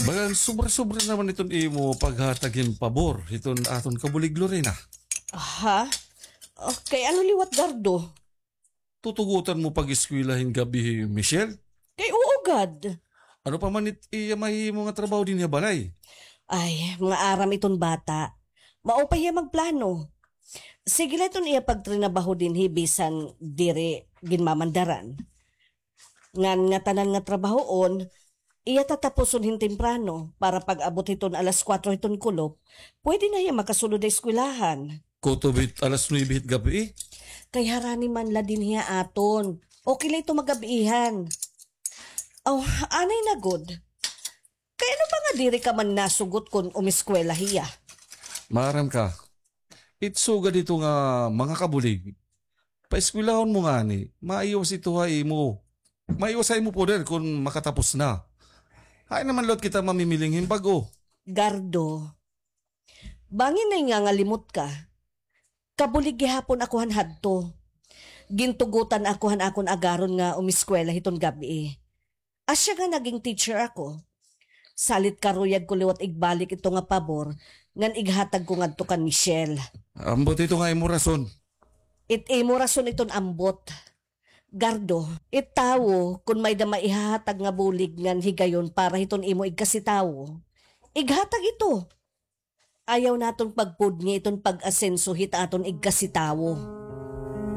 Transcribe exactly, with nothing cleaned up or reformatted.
Bagan sobra-sobra naman iton imo paghatag hin pabor hiton aton kabulig, Lorena. Ha? Okay, ano liwat, Gardo? Tutugotan mo pag-eskwela hin gab-i hi Michelle? Kay oo gad. Ano pa man it iya mahimo nga trabaho dinhi ha balay? Ay, mga aram iton bata. Maupay hiya magplano. Sige la iton iya pagtrinabaho dinhi bisan diri ginmamandaran. Ngan ngatanan nga trabahoon, iya tatapuson hin temprano para pag-abot hiton alas kuwatro hiton kulop, pwede na hiya makasulod ha eskwelahan. Kutob hit alas nuwebe hit gab-i? Kay harani man la dinhi ha aton. Okay la ito magab-ihan. Aw, anay na gud. Kay ano ba nga diri ka man nasugot kon umiskwela hiya? Maaram ka, it sugad hito nga mga kabulig, paeskwelahon mo ngani, maiwas ito ha imo. Maiwas ha imo poder kon makatapos na. Hain naman liwat kita mamimiling hin bag-o. Gardo, bangin nay ngangalimot ka. Kabulig gihapon ako han hadto. Gintugotan ako han akon agaron nga umiskwela hiton gab-i. Asya nga naging teacher ako. Salit karuyag ko liwat igbalik ito nga pabor ngan ighatag ko ngadto kan Michelle. Ambot ito nga imo rason. It imo rason iton ambot. Gardo, it tawo, kon may-da maihahatag nga bulig ngan higayon para hiton imo igkasitawo, ighatag ito. Ayaw naton pagpudngi iton pag-asenso hit aton igkasitawo.